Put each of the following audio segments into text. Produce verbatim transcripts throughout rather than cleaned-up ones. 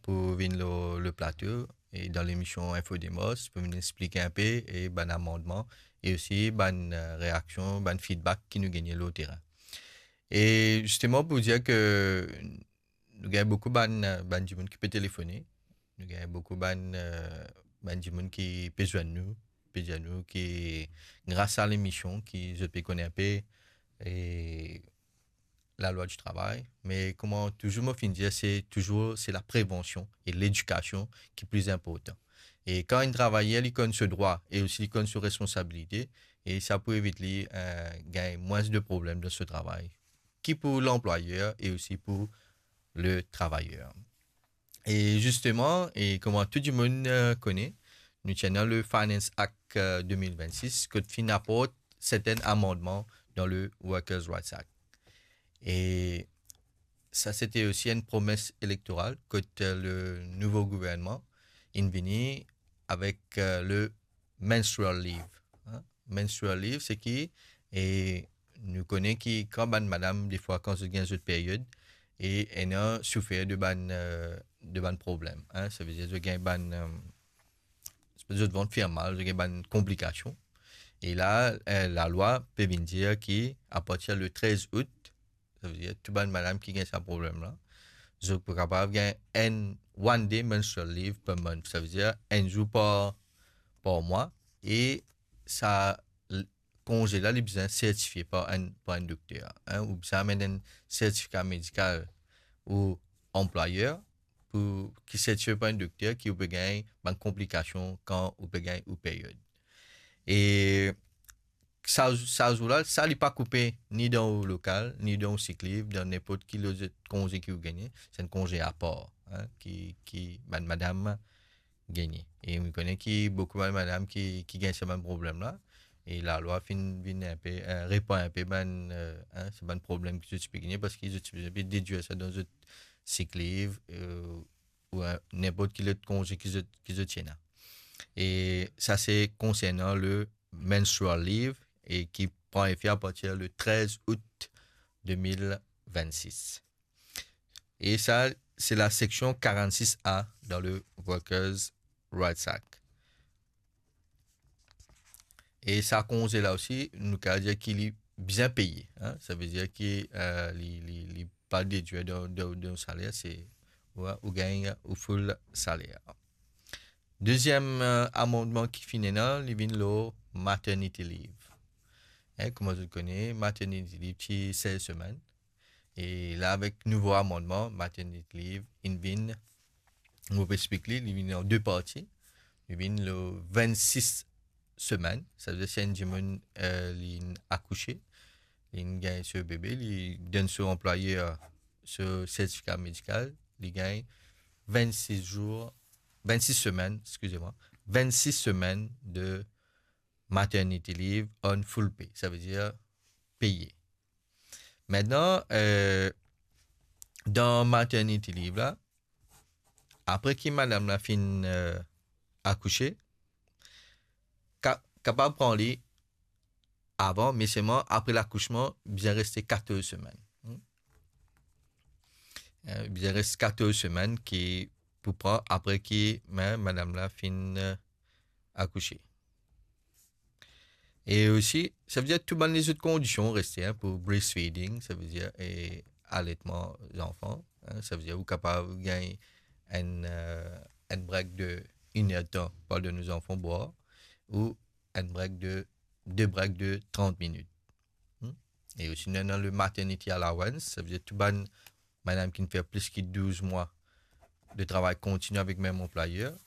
pou vinn lor le plato e dan lemision Info Demos pou vinn explik inpe e bann amandman e osi bann, eh, reaksion, bann feedback ki nou gagne lor terin. E zisteman pou dir ke nou gagn boukou bann, eh, bann dimoun ki pe telefone, nou gagn boukou bann, eh, bann dimoun ki pe zwenn nou, pe dir nou ki gras a lemision ki zot pe kone inpe e lalwa di travay, me kouma touzour mo finn dir, se touzour, se laprevansion e ledikasion ki pli inportan. E kan enn travayer li konn so drwa e osi li konn so responsabilite, e sa pou evit li, eh, gagn mwins de problem dan so travay, ki pou lanplwayer e osi pou le travayer. E zisteman, e kouma tou dimoun, eh, kone, nou ti ena le Finance Act, eh, de mil vennsis, kot finn aport sertin amandman dan le Workers' Rights Act. E sa, sete osi enn promes elektoral kot, eh, le nouvo gouvernman inn vini avek, eh, le menstrual leave, hein. Menstrual leave, se ki, e nou kone ki kan bann madam, defwa, kan zot gagn zot period, e ena soufer de bann, eh, de bann problem, hein. Savedir zot gagn bann, eh, zot vant fer mal, zot gagn bann konplikasion. E la, eh, lalwa pe vinn dir ki, apartir le trez out, savedir tou bann madam ki gagn sa problem la, zot pou kapav gagn enn one day menstrual leave per month, savedir enn zour par, par mwa, e sa l-, konze la, li bizin sertifie par enn, par enn dokter, hein, ou bizin amenn enn sertifika medikal ou anplwayer pou, ki sertifie par enn dokter ki ou pe gagn bann konplikasion kan ou pe gagn ou period. E sa, sa zour la, sa li pa koupe ni dan ou lokal, ni dan ou sick leave, dan ninport ki lot konze ki ou gagne, se enn konze apar, hein, ki, ki bann madam gagne. E nou kone ki boukou bann madam ki, ki gagn sa bann problem la, e lalwa finn vinn inpe, eh, repar inpe bann, eh, hein, sa bann problem ki zot ti pe gagne, parski zot ti pe dedwir sa dan zot sick leave, eh, ou, eh, ninport ki lot konze ki zot, ki zot ti ena. E sa se konsernan le menstrual leave e ki pran efe apartir le trez out de mil vennsis. E sa, se la seksion karannsis A dan le Workers' Rights Act. E sa konze la osi, nou kapav dir ki li bizin peye, hein. Savedir ki, eh, li, li, li pa dedwir dan, dan, dan saler, se, ou, ou gagn ou full saler. Deziem, eh, amandman ki finn ena, li vinn lor maternity leave. Hein, kouma zot kone, maternity leave ti sez semenn. E la, avek nouvo amandman, maternity leave inn vinn, mo pe explik li, li vinn an de parti. Li vinn lor vennsis semenn, savedir si enn dimoun, eh, li akouse, li gagn so bebe, li donn so anplwayer so sertifika medikal, li gagn vennsis zour, vennsis semenn, excusez-moi, vennsis semenn de maternity leave on full pay, savedir peye. Aster, eh, dan maternity leave la, apre ki madam la finn, eh, akouse, ka-, kapav pran li avan, me selman apre lakousman, bizin reste katorz semenn. Hmm. Eh, bizin res katorz semenn ki pou pran apre ki, me, madam la finn, eh, akouse. E osi, savedir tou bann lezot kondision reste, hein, pou breastfeeding, savedir, e aletman zanfan, hein, savedir ou kapav gagn enn, eh, enn break de inn er tan pandan nou zanfan bwar, ou enn break de, de break de trant minit. Hmm? E osi, nou ena le maternity allowance, savedir tou bann madam ki finn fer plis ki douz mwa de travay kontini avek mem anplwayer,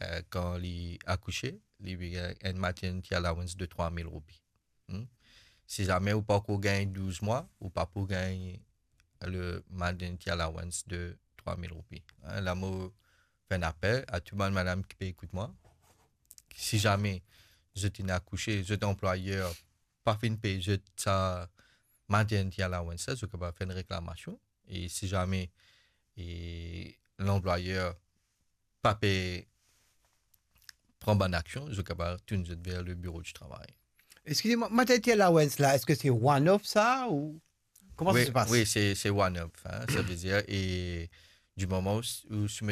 eh, kan li akouse, li pe gagn enn maternity allowance de trwa mil roupi. Hmm? Si zame ou pa ankor gagn douz mwa, ou pa pou gagn le maternity allowance de trwa mil roupi. Hein, la mo fer enn apel a tou bann madam ki pe ekout mwa. Si zame zot inn akouse, zot anplwayer pa finn pey zot sa maternity allowance la, zot kapav fer enn reklamasion. E si zame, e, lanplwayer pa pe pran bann aksion, zot kapav tourn zot ver le biro di travay. Excusez-moi, maternity allowance la, est-ce que c'est one-off ça ou comment ça se passe? Wi, se, se one-off, hein. Savedir, e di moman ou, ou soumet